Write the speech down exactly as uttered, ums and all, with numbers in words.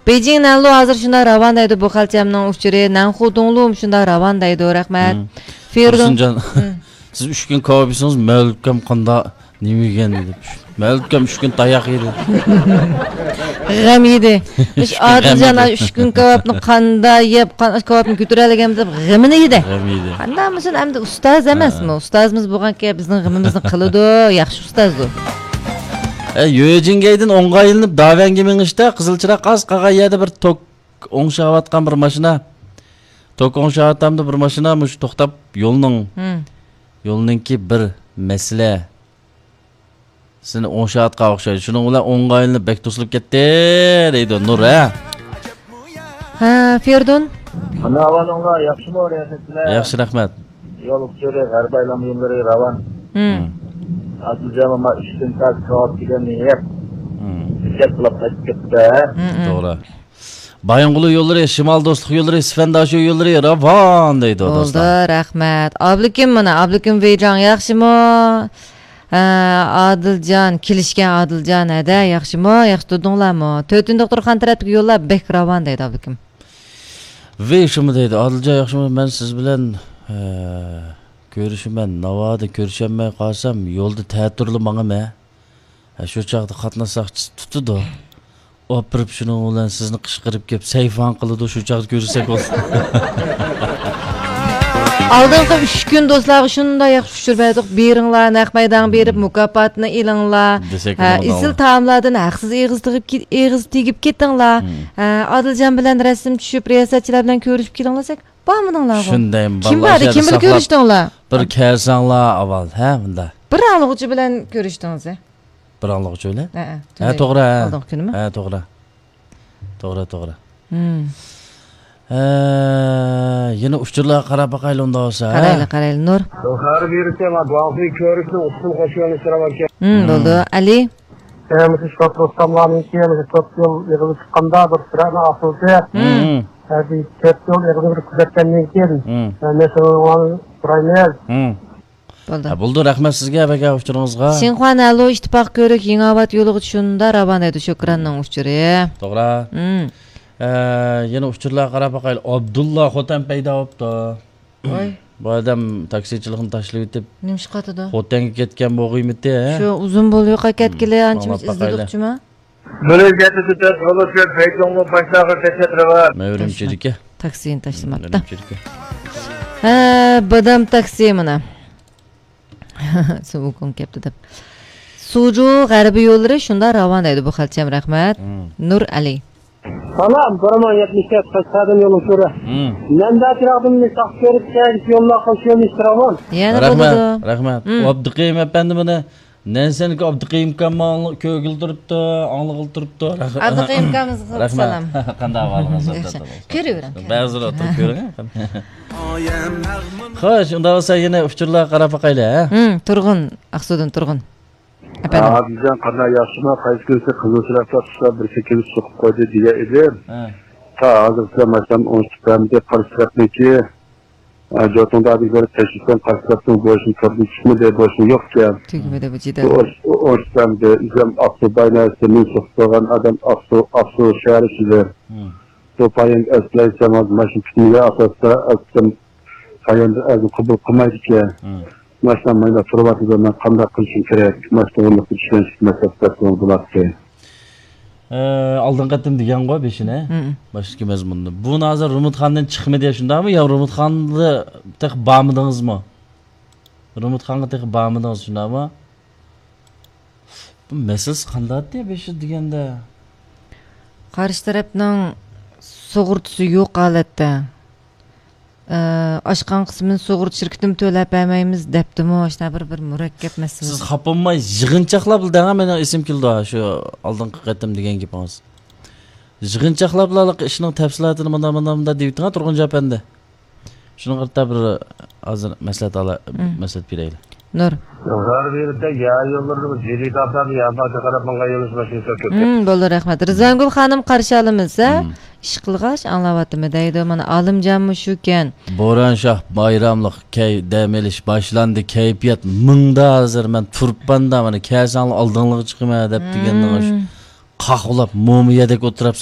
بېيجىڭ نەنلۇ ھازىر شۇنداق راۋان دەيدۇ بۇ خەلچەمنىڭ ئۇچۇرى. نەنخۇ دۇڭلۇمۇ شۇنداق راۋان دەيدۇ. رەھمەت. مم. فېردۇن. تۇرسۇنجان، مم. سىز ئۈچ كۈن كاۋاپ يېسىڭىز، مەۋلۇتكەم قاندا نېمە يېگەن دېدى. مەۋلۇتكەم ئۈچ كۈن تاياق يېدى. غەم يېدى. ئۈچ كۈن غەم ئادىلجان يېدى. ئۈچ كۈن كاۋاپنى قاندا يەپ، قان-، كاۋاپنى كۆتۈرەلىگەن دەپ غېمىنى يېدى. غەم يېدى. قانداق بولسۇن، ئەمدى ئۇستاز ئەمەسمۇ؟ ھە. ئۇستازىمىز بولغانكەن بىزنىڭ غېمىمىزنى قىلىدۇ، ياخشى ئۇستازدۇ. ئە، يۆجىنگەيدىن ئوڭغا ئايلىنىپ داۋەنگە مېڭىشتا قىزىل چىراغ ئاز قالغان يەردە بىر توك ئوڭشاۋاتقان بىر ماشىنا، توك ئوڭشاۋاتامدۇ بىر ماشىنا، مۇشۇ توختاپ يولنىڭ، ھىم. يولنىڭكى بىر مەسىلە. سېنى ئوڭشاۋاتقان ئوخشايدۇ. شۇنىڭ بىلەن ئوڭغا ئايلىنىپ بەك توسۇلۇپ كەتتى، دەيدۇ نۇر، ھە؟ ھە، فېردۇن. قانداق ئەھۋالىڭلار؟ ياخشىمۇ، رىياسەتچىلەر؟ ياخشى، رەھمەت. يول ئۇچۇرى، غەربىي ئايلانما يوللىرى راۋان. ھىم. ئادىلجان ماما ئۈچ كۈن تاز كاۋاپ دېگەننى يەپ، ھىم. ھېساب قىلىپ قايتىپ كەتتى. ھىم، ھىم. توغرا. بايىنغولى يوللىرى، شىمال دوستلۇق يوللىرى، سىفەنداشو يوللىرى راۋان دەيدۇ، بولدى، دوستلار. رەھمەت. ئابلىكىم مانا، ئابلىكىم ۋېيجاڭ ياخشىمۇ؟ ھە، ئادىلجان، كېلىشكەن ئادىلجان، ھەدە، ياخشىمۇ؟ ياخشى تۇردۇڭلارمۇ؟ تۆتىنچى دوختۇرخانا تەرەپتىكى يوللار بەك راۋان دەيدۇ، ئابلىكىم. ۋېي شۇمۇ دەيدۇ، ئادىلجان ياخشىمۇ؟ مەن سىز بىلەن، ھە، كۆرۈشىمەن، ناۋادا كۆرۈشەلمەي قالسام، يولدا تەتۈرلا ماڭىمەن. ھە، شۇ چاغدا قاتناش ساقچىسى تۇتىدۇ. ئاپىرىپ شۇنىڭ بىلەن سىزنى قىچقىرىپ كېلىپ سەيفان قىلىدۇ، شۇ چاغدا كۆرسەك بولىدۇ. ئالدىنقى ئۈچ كۈن دوستلارغا شۇنداق ياخشى ئۇچۇر بەردۇق. بېرىڭلار، نەق مەيدانغا بېرىپ، مم. مۇكاپاتنى ئېلىڭلار. دېسەك ھە، بولىدۇ. ئېسىل تائاملاردىن ھەقسىز ئېغىز تېگىپ كېت-، ئېغىز تېگىپ كېتىڭلار. مم. ھە، ئادىلجان بىلەن رەسىم چۈشۈپ، رىياسەتچىلەر بىلەن كۆرۈشۈپ كېلىڭلار دېسەك، بارمىدىڭلارغۇ؟ شۇندايمۇ كىم بالىلار باردا؟ ئىچەردە كىم بىلەن ساقلاپ، كۆرۈشتۈڭلار؟ بىر كەلسەڭلار ئاۋۋال، ھە، مۇنداق. بىر ئاڭلىغۇچى بىلەن كۆرۈشتىڭىز، ھە؟ بىر ئاڭلىغۇچى بىلەن؟ ھە، ھە، ھە، تۈنۈگۈن توغرا، ھە. ئالدىنقى كۈنىمۇ؟ ھە، توغرا. توغرا، توغرا. مم. ھە، يەنە ئۇچۇرلارغا قاراپ باقايلى ئۇنداق بولسا، ھە؟ قارايلى، قارايلى، نۇر. خەۋەر بېرىشتە، مانا، گۇاڭخۇي كۆۋرۈكىنىڭ ئۇسسۇل قوشۇۋېلىش راۋانكەن. مم، مم. بولدى. ئەلى؟ ھە، مۇشۇ شوپۇر ئۇستاملارنىڭكى، مۇشۇ تۆت يول ئېغىزى چىققاندا بىر سۈرەتنى ئاپىرىدى. مم. ھە، بىر تۆت يول ئېغىزىنى بىر كۆزەتكەندىن كېيىن، مم. ھە، مەسىلىنى سورايمىز. مم. بولدى. ھە، بولدى، رەھمەت سىزگە ۋە ئۇچۇرىڭىزغا. شىنخۇا نەنلۇ ئىتتىپاق كۆۋرۈك يېڭىئاۋات يولىغا شۇنداق راۋان دەيدۇ، شۆكراننىڭ ئۇچۇرى. توغرا. مم. ئە، يەنە ئۇچۇرلارغا قاراپ باقايلى. ئابدۇللا خوتەن پەيدا بوپتۇ. ۋاي. بۇ ئادەم تاكسىچىلىقنى تاشلىۋېتىپ، نېمە ئىش قاتىدۇ؟ خوتەنگە كەتكەن بولغىيمىتى، ھە؟ شۇ ئۇزۇن بولۇۋېقىپ كەتكىلى، مم. ئانچە مۇنچە ئاڭلاپ باقايلى. ئىزدىدۇقچىما؟ بىر يۈز يەتتە تۆت يول ئۈچۈن پەيتۇڭلۇ باشلاغا تەكلىپ بار. مەۋرىم چېرىكى. تاكسىنى تاشلىماپتۇ. مەۋرىم چېرىكى. ھە، بادام تاكسى مانا. سوۋۇكۇڭ كەپتۇ دەپ. سۇجۇ غەربىي يوللىرى شۇنداق راۋان دەيدۇ بۇ خەلچەم، رەھمەت. مم. نۇر ئەلى. سالام، بىر مىڭ يەتمىش تۆت قەشقەردىن يول ئۇچۇرى. مم. نەندە چىراغدىن تاق كۆرۈپ كەلگۈچ يوللار قوشۇلمىش راۋان. يەنە رەھمەت، بولىدۇ. رەھمەت. مم. ئابدۇقېيۇم ئەپەندى مانا نەنسەنكى ئابدۇقېيۇم ئاكام ماڭا كۆرگىلى تۇرۇپتۇ، ئاڭلىغىلى تۇرۇپتۇ. رەھمەت. ئابدۇقېيۇم ئاكامىزغا رەھمەت. سالام. قانداق ئەھۋالىڭىز؟ ياخشى. كۆرۈۋېرىڭ. بەزىلەر ئولتۇرۇپ كۆرۈڭ. خوش، ئۇنداق بولسا يەنە ئۇچۇرلارغا قاراپ باقايلى، ھە؟ ھىم، تۇرغۇن، ئاقسۇدىن تۇرغۇن. ئەپەندىم. ئادىلجان، قانداق، ياخشىمۇ؟ قايسى كۈنسى قىزىل چىراغدا قۇشلار بىر سەككىز سوقۇپ قويدى دېگەن ئىدىم. ھە. تا ھازىرغىچە ماشىنام ئوڭشىتىپ بەرمىدى، قارشى تەرەپنىڭكى. ئە، جوتۇڭدا بىر تەكشۈرسەم، قارشى تەرەپنىڭ بوشىنى كۆردۈم، چىقمىدى، بوشىنى يوق ئىكەن. تۈگىمىدى بۇ جېدەل. بۇ ئوش-، ئوش-، ئوشۇقچامدى. ئۆزۈم ئاقسۇ بايناسى، مېنى سوقۇپ قويغان ئادەم ئاقسۇ، ئاقسۇ شەھەر ئىچىدە. مم. بۇ پاياندا ئەسلەيسەم، ھازىر ماشىنا پۈتۈنلەي ئاساستا ئەسلىم پاياندا ئەزىم قوبۇل قىلمايدىكەن. مم. ماشىنا مايدا تۇرۇۋاتىدۇ، مەن قانداق قىلىشىم كېرەك؟ ماشىنا ئورنىدا چۈشەنچىلىك مەسىلە بولاتتى. ئە، ئالدىنقى قېتىم دېگەنغۇ بېشىنى، مم. باشتىكى مەزمۇندا. بۇ ھازىر رۇمۇتخاندىن چىقمىدى، شۇنداقمۇ؟ يا رۇمۇتخاندا تېخى بارمىدىڭىزمۇ؟ رۇمۇتخانغا تېخى بارمىدىڭىز، شۇنداقمۇ؟ بۇ مەسىلىسى قانداقتى بېشى دېگەندە؟ قارشى تەرەپنىڭ سۇغۇرتىسى يوق ھالەتتە. ئە، ئاشقان قىسمىنى سۇغۇرتا شىركىتىمۇ تۆلەپ بەرمەيمىز دەپتىمۇ، ئاشۇنداق بىر، بىر مۇرەككەپ مەسىلە. سىز خاپا بولماي يىغىنچاقلاپ دەڭە، مېنىڭ ئېسىم كېلىدۇ شۇ ئالدىنقى قېتىم دېگەن گېپىڭىز. يىغىنچاقلاپلا ئىشنىڭ تەپسىلاتىنى مۇنداق، مۇنداق، مۇنداق دېيىۋېتىڭە، تۇرغۇنجان ئەپەندى. شۇنىڭغا قارىتا بىر ھازىر مەسلىھەت ئالا-، مم. مەسلىھەت بېرەيلى. نۇر. غەربىي يەر يوللىرىدا جىددىي تاپلاردا يەر بارغا قاراپ ماڭغان يولدىشىمىز شۇنچە كۆپ. مم، بولدى، رەھمەت. رىزۋانگۈل خانىم قارشى ئالىمىز، ھە؟ مم. ئىشقىلغاچ ئاڭلاۋاتىمەن دەيدۇ. مانا، ئالىمجانمۇ شۇكەن. بوران شاھ بايراملىق كەي-، دەم ئېلىش باشلاندى، كەيپىيات مىڭدا ھازىر، مەن تۇرۇپپاندا، مانا، كەلسەڭلار ئالدىڭلارغا چىقىمەن دەپ دېگەننىڭ شۇ. مم. قاقۇللاپ مومىيەدەك ئولتۇرۇپساق